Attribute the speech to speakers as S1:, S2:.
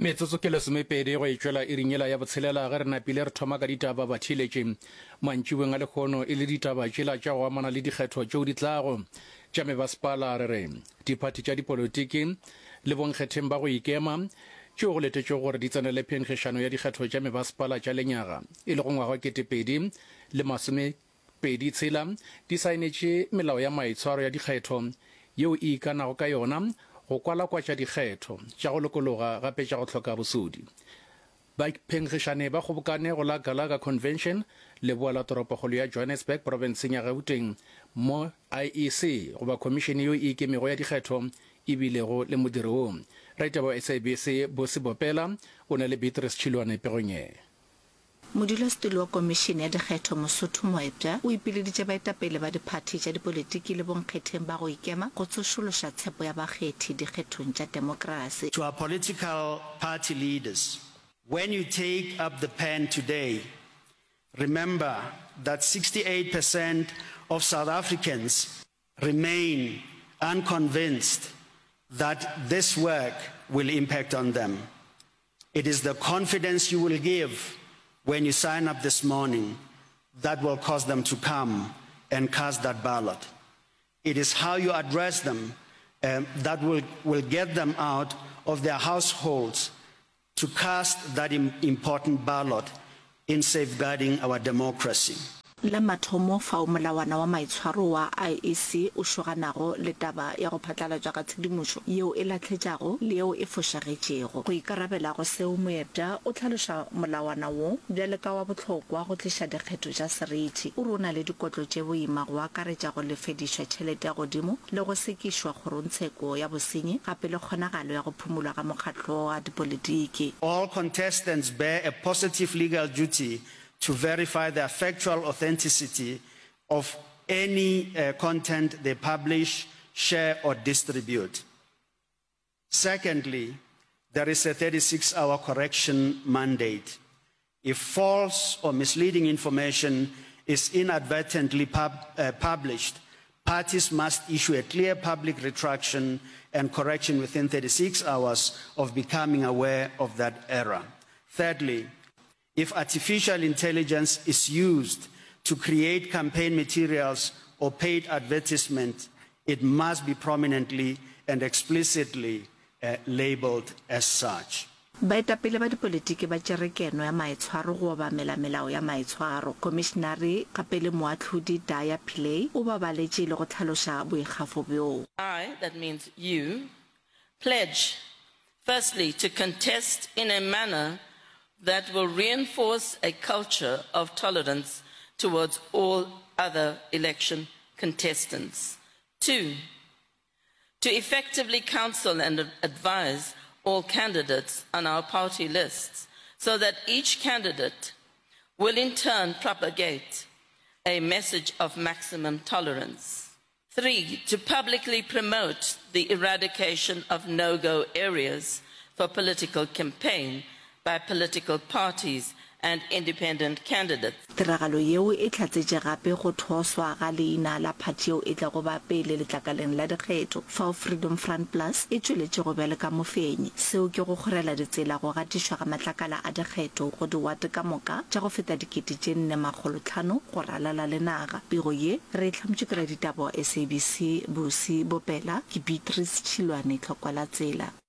S1: Metsotso ke lesomepedi go e tšwela iring yela ya botshelela ge re napile re thoma ka ditaba batheeletši mantšiboeng a lehono e le ditaba tšela tša go amana le dikgetho tšeo di tlago tša mebasepala. Re re diphathi tša dipolotiki le bonkgetheng ba go ikema tšeo go letetšwego gore di tsenele phenkgišano ya dikgetho tša mebasepala tša lenyaga e lego ngwaga wa 2026 di saenetše melao ya maitshwaro ya dikgetho yeo e ikanago ka yona go kwalakwatša dikgetho tša go lokologa gape tša go hloka bosodi. Baphenkgišani ba kgobokane go la Gallagher Convention, leboa la toropokgolo ya Johannesburg profenseng ya Gauteng, mo IEC goba khomišene yeo e ikemego ya dikgetho e bilego le modiro wo. Raditaba wa SABC Busi Bopela o na le Beatrice Tšhilwane pegong ye.
S2: Modulasetulo wa Komišene ya Dikgetho Mosotho Moepša o ipileditše baetapele ba diphathi tša dipolitiki le bonkgetheng ba go ikema go tsošološa tshepo ya bakgethi dikgethong tša temokrasi.
S3: To our political party leaders, when you take up the pen today, remember that 68 percent of South Africans remain unconvinced that this work will impact on them. It is the confidence you will give when you sign up this morning that will cause them to come and cast that ballot. It is how you address them um, that will, will get them out of their households to cast that important ballot in safeguarding our democracy.
S2: La mathomo fao molawana wa maitshwaro wa IEC o šoganago le taba ya go phatlalatšwa ga tshedimošo yeo e lahletšago le yeo e fošagetšego. Go ikarabela go seo, Moepša o hlaloša molawana wo bjale ka wa bohlokwa go tliša dikgetho tša seriti. O re o na le dikotlo tše boima go akaretša go lefedišwa tšhelete ya godimo le go sekišwa kgorongtsheko ya bosenyi gape le kgonagalo ya go phumulwa ga mokgatlo wa dipolitiki.
S3: All contestants bear a positive legal duty to verify the factual authenticity of any content they publish, share or distribute. Secondly, there is a 36-hour correction mandate. If false or misleading information is inadvertently pub, uh, published, parties must issue a clear public retraction and correction within 36 hours of becoming aware of that error. Thirdly, if artificial intelligence is used to create campaign materials or paid advertisement, it must be prominently and explicitly uh, labeled as such.
S2: Baetapele ba dipolitiki ba tšere keno ya maitshwaro go obamela melao ya maitshwaro. Khomišinare gape le moahlodi Daya Pillay o ba baletše le go hlaloša boikgafo bjoo.
S4: I, that means you, pledge firstly to contest in a manner that will reinforce a culture of tolerance towards all other election contestants. Two, to effectively counsel and advise all candidates on our party lists so that each candidate will in turn propagate a message of maximum tolerance. 3, to publicly promote the eradication of no-go areas for political campaign by political parties and independent candidates.
S2: Tiragalo yeo e hlatsetše gape go thoswa ga leina la phathi yeo e tlago ba pele letlakaleng la dikgetho, fao Freedom Front Plus e tšweletšego bjalo ka mofenyi. Seo ke go kgorela ditsela go gatišwa ga matlakala a dikgetho go diwate ka moka tša go feta 4500 go ralala le naga. Pego ye re e hlamotšwe ke raditaba wa SABC, Busi Bopela, ke Beatrice Tšhilwane, Tlhokwalatsela.